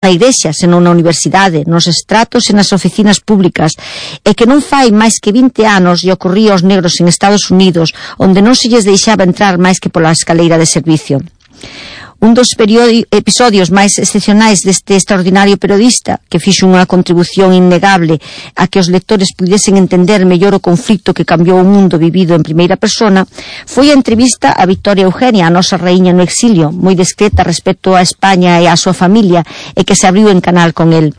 na igrexa, senón na universidade, nos estratos e nas oficinas públicas, e que non fai máis que 20 anos lle ocorría aos negros en Estados Unidos, onde non se lles deixaba entrar máis que pola escaleira de servicio. Un dos episodios máis excepcionais deste extraordinario periodista, que fixo unha contribución innegable a que os lectores pudesen entender mellor o conflito que cambiou o mundo vivido en primeira persona, foi a entrevista a Victoria Eugenia, a nosa raíña no exilio, moi discreta respecto a España e a súa familia, e que se abriu en canal con el.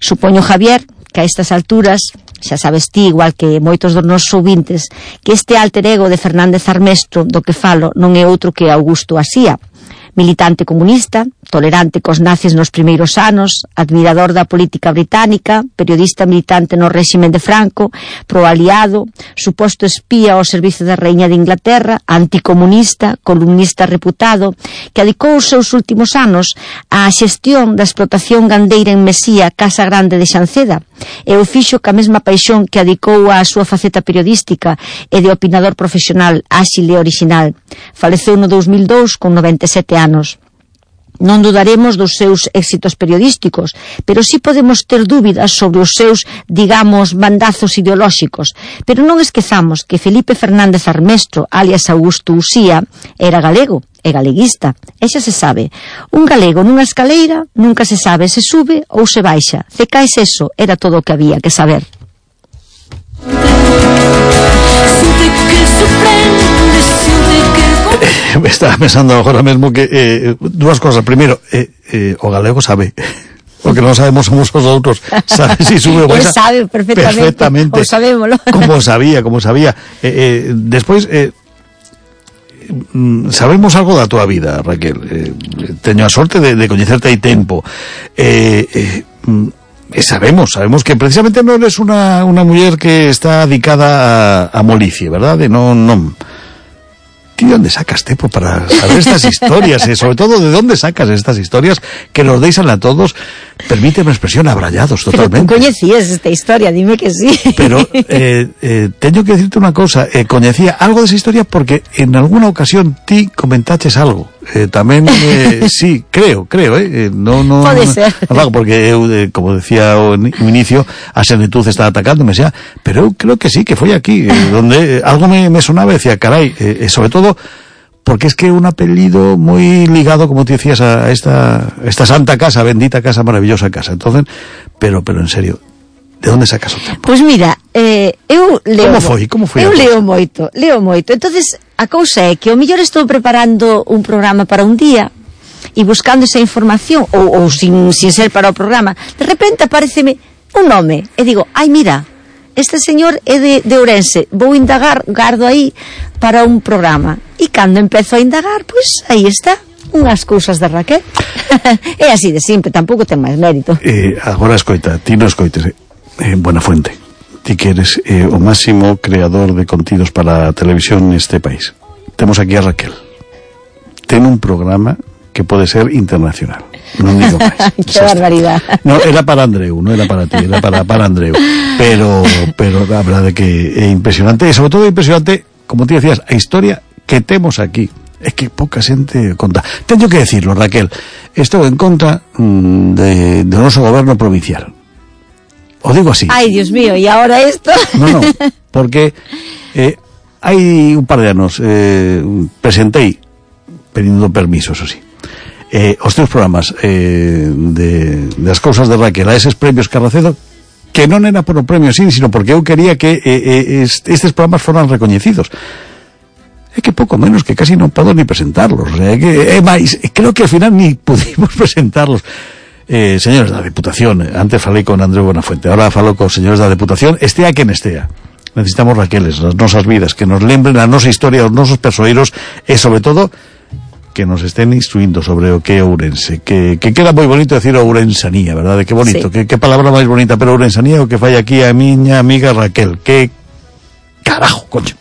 Supoño, Javier, que a estas alturas xa sabes ti, igual que moitos dos nosos ouvintes, que este alter ego de Fernández Armesto do que falo non é outro que Augusto Asía, militante comunista, tolerante cos nazis nos primeiros anos, admirador da política británica, periodista militante no réxime de Franco, proaliado, suposto espía ao servizo da Raíña de Inglaterra, anticomunista, columnista reputado, que adicou os seus últimos anos á xestión da explotación gandeira en Mesía, Casa Grande de Xanceda, e o fixo ca mesma paixón que adicou á súa faceta periodística e de opinador profesional áxil e original. Faleceu no 2002 con 97 anos. Non dudaremos dos seus éxitos periodísticos, pero sí podemos ter dúbidas sobre os seus, digamos, bandazos ideolóxicos. Pero non esquezamos que Felipe Fernández Armesto, alias Augusto Usía, era galego e galeguista, e xa se sabe. Un galego nunha escaleira nunca se sabe se sube ou se baixa. Cecais eso, era todo o que había que saber. Me estaba pensando agora mesmo que dúas cosas. Primeiro, o galego sabe. O que non sabemos somos os outros. Sabe si sube ou baixa. Sabe perfectamente. O sabémolo. Como sabía. Despois, sabemos algo da túa vida, Raquel. Teño a sorte de coñecerte hai tempo. Sabemos que precisamente non eres unha muller que está dedicada a molicie, verdade? Non. ¿Ti de dónde sacas tempo para saber estas historias? Sobre todo, ¿de dónde sacas estas historias que nos deixan a todos, permíteme a expresión, abrallados totalmente? Pero tú coñecías esta historia, dime que sí. Pero teño que decirte unha cosa, coñecía algo desa historia porque en alguna ocasión ti comentaches algo. Tamén, sí, creo, no, pode ser. Porque eu, como decía o inicio, a senetuz está atacándome, xa, pero eu creo que sí, que foi aquí, donde algo me sonaba e decía, carai, sobre todo porque es que un apellido moi ligado, como te decías, a esta santa casa, bendita casa, maravillosa casa. Entonces, pero en serio, de onde sacas o tempo? Pois mira, eu leo. Como foi? Eu leo moito. Entonces, a cousa é que o mellor estou preparando un programa para un día e buscando esa información ou sin ser para o programa, de repente apareceme un nome e digo, ai mira, este señor é de Ourense, vou indagar, gardo aí para un programa. E cando empezo a indagar, pois aí está, unhas cousas de Raquel. É así de simple, tampouco ten máis mérito. Agora escoita, ti non escoites, Buenafuente, ti que eres o máximo creador de contidos para a televisión neste país. Temos aquí a Raquel. Ten un programa que pode ser internacional. Non digo máis. Que barbaridade. No, era para Andreu, non era para ti, era para Andreu. Pero a verdade que é impresionante, e sobre todo impresionante, como ti decías, a historia que temos aquí. É que pouca xente conta. Teño que decirlo, Raquel, estou en contra do noso goberno provincial. O digo así. Ai, Dios mío, e agora isto? No, porque hai un par de anos presentei, pedindo permiso, eso sí, os teus programas das cousas de Raquel a eses premios Carracedo, que non era por o premio sí, sino porque eu quería que estes programas foran recoñecidos. É que pouco menos que casi non podo ni presentarlos, é máis, creo que ao final ni pudimos presentarlos. Señores da Deputación, antes falei con Andreu Buenafuente, ahora falo cos señores da Deputación, estea quen estea. Necesitamos Raqueles nas nosas vidas, que nos lembren a nosa historia, os nosos persoeiros, e sobre todo que nos estén instruindo sobre o que é Ourense, que queda moi bonito decir ourensanía, verdade? Que bonito, sí. que palabra máis bonita, pero ourensanía é o que fai aquí a miña amiga Raquel, que carajo, coño.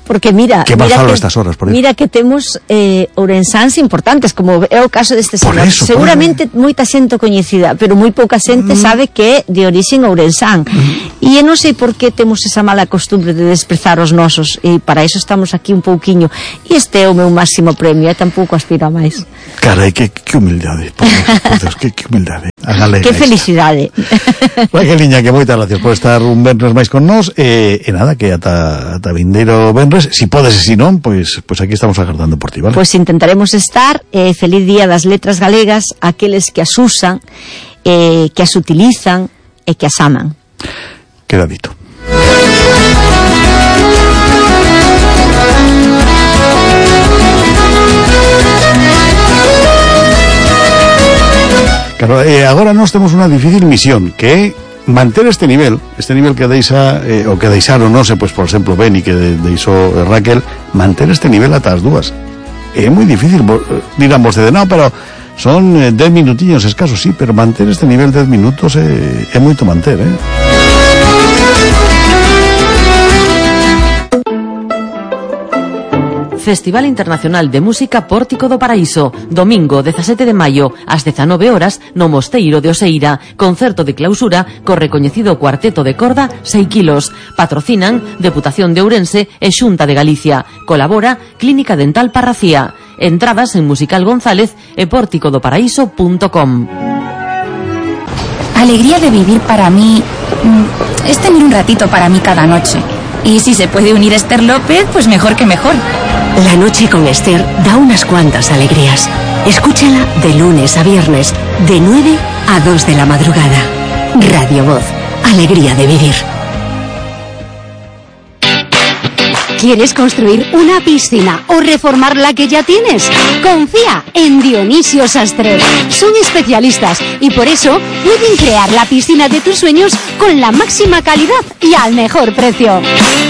Porque mira que estas horas, por mira que temos ourensáns importantes, como é o caso deste señor. Seguramente moita xente coñecida, pero moi pouca xente sabe que é de orixen ourensán. E non sei por que temos esa mala costumbre de desprezar os nosos, e para iso estamos aquí un pouquiño, e este é o meu máximo premio, e tampouco aspiro a máis. Carai, que humildade, por Deus, que humildade. A galega. Que felicidade. Raqueliña, que moitas gracias por estar un venres máis con nós, e nada, que ata vindeiro venres, si podes e si non, pois aquí estamos agardando por ti, vale? Pois intentaremos estar, feliz día das letras galegas, aqueles que as usan, que as utilizan e que as aman. Queda dito. Claro, agora nós temos unha difícil misión, que é manter este nivel que deixa, o que deixaron, non sei, pois, por exemplo, Beni, que deixou Raquel, manter este nivel ata as dúas. É moi difícil, dirán vostede, non, pero son 10 minutillos escasos, sí, pero manter este nivel 10 minutos é moito manter, Festival Internacional de Música Pórtico do Paraíso, domingo 17 de maio ás 19 horas no Mosteiro de Oseira, concerto de clausura co recoñecido cuarteto de corda 6 kilos. Patrocinan Deputación de Ourense e Xunta de Galicia. Colabora Clínica Dental Parracía. Entradas en Musical González e pórticodoparaíso.com. Alegría de vivir para mí es tener un ratito para mí cada noche. Y si se puede unir Esther López, pues mejor que mejor. La noche con Esther da unas cuantas alegrías. Escúchala de lunes a viernes, de 9 a 2 de la madrugada. Radio Voz, alegría de vivir. ¿Quieres construir una piscina o reformar la que ya tienes? Confía en Dionisio Sastre. Son especialistas y por eso pueden crear la piscina de tus sueños con la máxima calidad y al mejor precio.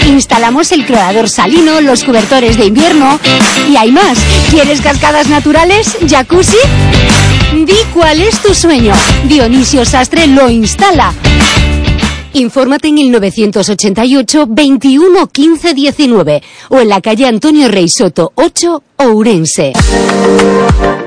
Instalamos el clorador salino, los cobertores de invierno y hay más. ¿Quieres cascadas naturales? ¿Jacuzzi? Di cuál es tu sueño. Dionisio Sastre lo instala. Infórmate en el 988 21 15 19 o en la calle Antonio Rey Soto 8, Ourense.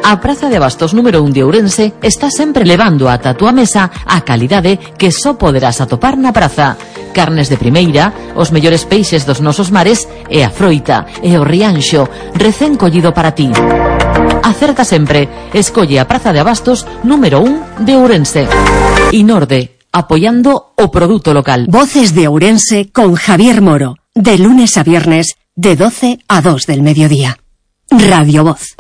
A Praza de Abastos número 1 de Ourense está sempre levando ata a túa mesa a calidade que só poderás atopar na praza. Carnes de primeira, os mellores peixes dos nosos mares e a froita e o rianxo recén collido para ti. Acerta sempre, escolle a Praza de Abastos número 1 de Ourense. Inorde, apoyando o produto local. Voces de Ourense con Javier Moro, de lunes a viernes, de 12 a 2 del mediodía. Radio Voz.